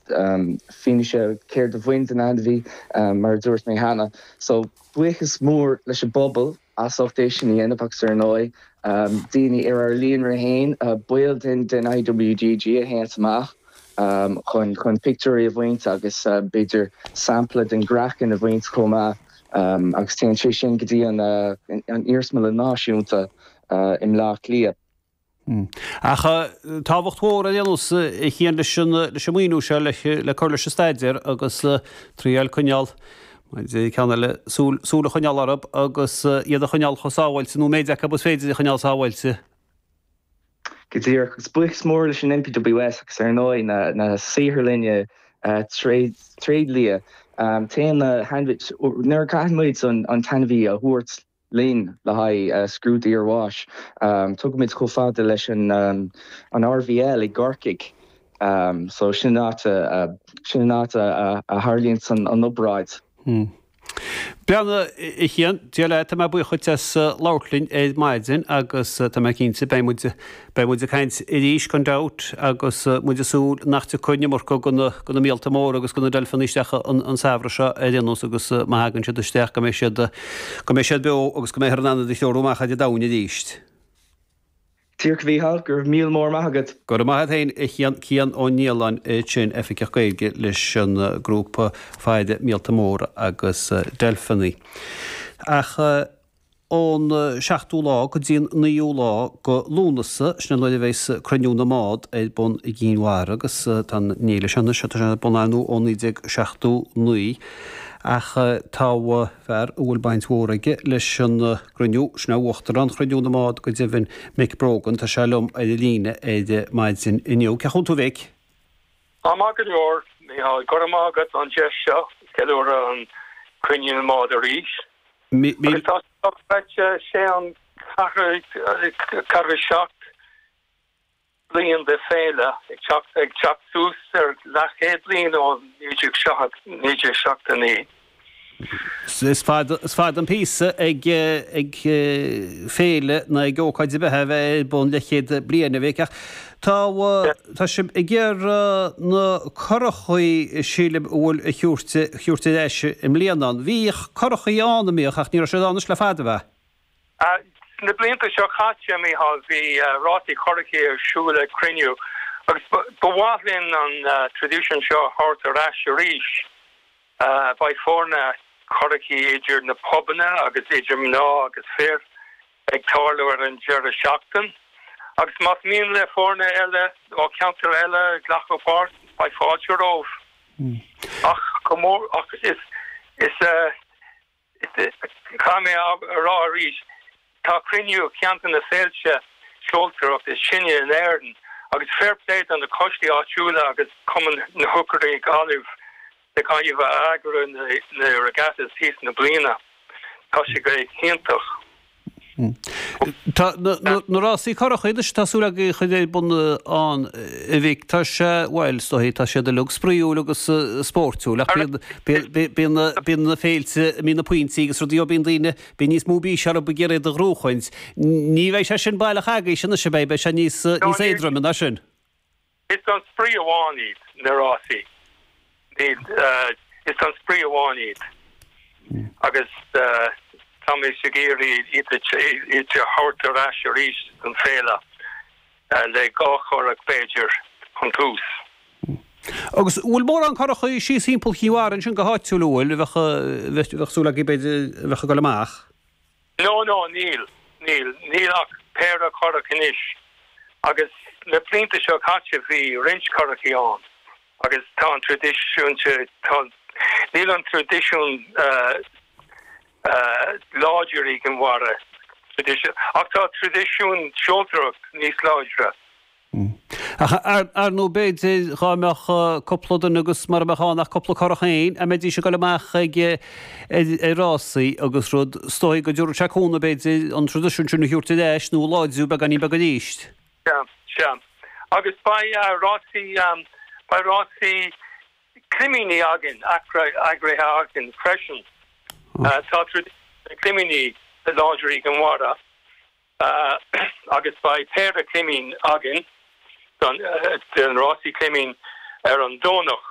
fianaise céard a bhain den ainmhí mar a dúirt mé cheana. So buíochas mór leis an bpobal as ucht é sin a dhéanamh agus ar ndóigh daoine ar ár líonra féin, baill den den IWGG a théanns amach chun chun pictiúirí a bhaint agus b'fhéidir sampla den gcraiceann a bhaint chomh maith agus téann sé sin go dtí an an Iarsmalann Náisiúnta i mBleá Cliath. Ach tábhacht mhór ar aon nós a Chian leis an leis an maoiniú seo le cur leis an staidéar agus triail coinneáil mar a deir ceann eile súil súil a choinneáil orthu agus iad a choinneáil chomh sábháilte nó an méid acu is féidir a choinneáil sábháilte. Go díreach. Agus buíochas mór leis an NPWS agus ar ndóigh na na saotharlainne tréidlia. Téann na hainmhithe nuair a chaitheann muid an an t-ainmhí a thabhairt linn le haghaidh scrúdú iarbháis. Tugaimid chomh fada leis an RVL i gCorcaigh. So sin an áit a sin an áit a tharlaíonns an obráid. Breathnaigh, a Chian, Dia leat, tá mé buíoch dhuit as labhairt linn ar maidin agus tá mé cinnte beidh muid beidh muid ag caint arís gan dabht agus muid ag súil nach dtiocfaidh an iomarca de na de na míolta móra agus de na deilfeanna isteach an an samhradh seo ar aon nós agus má thagann siad isteach go mbeidh siad go mbeidh siad beo agus go mbeifear in ann iad a threorú amach ar an domhain arís. Díreach a Mhícheáil, go raibh míle mór maith agat. Go raibh maith agat féin a Chian, Cian Ó Nialláin ansin, Oifigeach Gaeilge leis an grúpa Faire Míolta Móra agus Deilfeanna. Ach ón seachtú lá go dtí an naoú lá go Lúnasa, sin an nuair a bheas Cruinniú na mBád ar bun i gCinn Mhara agus tá an fhéile seo anois, tá sé ar bun ar ndóigh ó 1979 ach tá fear a bhfuil baint mhór aige leis an gcruinniú, sin é Uachtarán Chruinniú na mBád go deimhin, Mick Brogan, tá sé liom ar an líne ar maidin inniu. Cén chaoi a bhfuil tú a Mhic? Tá maith go leor, Mícheál. Go raibh maith agat an deis seo ceiliúradh an Cruinniú na mBád arís. Agus tá sé dochreidte, sé an ceathrú 7 bliain de féile ag teacht ag teacht suas ar leathchéad bliain ó 1979. Is fada is fada an píosa ag ag féile nó ag ócáid ar bith a bheith ar bun leathchéad bliain, a Mhic, ach tá tá sibh ag iarraidh na curachaí sílim a bhfuil a thabhairt a thabhairt ar ais i mbliana ann. Bhíodh curachaí ann an mbíodh ach ní raibh siad ann anois le fada, ab ea? Sna blianta seo caite, a Mhícheáil, bhí rásaí curachaí ar siúl ag cruinniú agus ba mhaith linn an traidisiún seo a thabhairt ar ais arís. Beidh foirne curachaí idir na pubanna agus idir mná agus fir ag tarlú ar an deireadh seachtain agus más mian le foirne eile ó cheantair eile glacadh páirt, beidh fáilte romhaibh. Ach go mór, ach is, is. Caithfidh mé a rá arís, tá Cruinniú ceann de na féilte seoltóireachta is sine in Éirinn agus fair play do na coistí áitiúla agus Cumann na hIocairí Gaillimh na Gaillimhe a eagraíonn na regattas thíos na bliana. Tá sé go hiontach. Tá na rásaí curachaí anois tá súil agaibh a chur ar bun ann, a Mhic, tá sé, bhuel, is dóigh, tá siad uilig spraíúil agus spóirtiúil ach bíonn bíonn na féilte, bíonn na pointí agus rudaí, ó bíonn daoine, bíonn níos mó bís orthu ag iarraidh iad a ghnóchaint. Ní bheidh sé sin baileach agaibhse anois, an mbeidh? Beidh sé níos éadroime ná sin. Is don spraoi amháin iad na rásaí. Níl, is don spraoi amháin iad. Agus táimid ag iarraidh iad a thabhairt ar ais arís don féile, le 2 churach b'fhéidir chun tús. Agus an bhfuil mórán curachaí síos thimpeall Chinn Mhara ansin go háitiúil, an bhfuil, a bheadh, a bheadh súil agaibh b'fhéidir a bheadh ag dul amach? No, no, níl, níl, níl ach péire curach anois agus na blianta seo caite bhí roinnt curachaí ann agus tá an traidisiún, tá, níl an traidisiún láidir i gCinn Mhara, traidisiún, ach tá traidisiún seoltóireacht níos láidre. Ach ar ndóigh b'fhéidir dhá mbeadh cúpla duine agus mura mbeadh ann ach cúpla curach féin, a mbeidís ag dul amach ag ar rásaí agus rud, is dóigh go dtabharfadh sé cúnamh b'fhéidir an traidisiún sin a thabhairt ar ais nó a láidriú beagáinín beag arís. Sea, sea. Agus beidh rásaí, beidh rásaí climíní againn, eagraithe againn freisin. Tá traidisiún na gclimíní láidir i gCinn Mhara. Agus beidh péire climín againn don rásaí climín ar an Domhnach.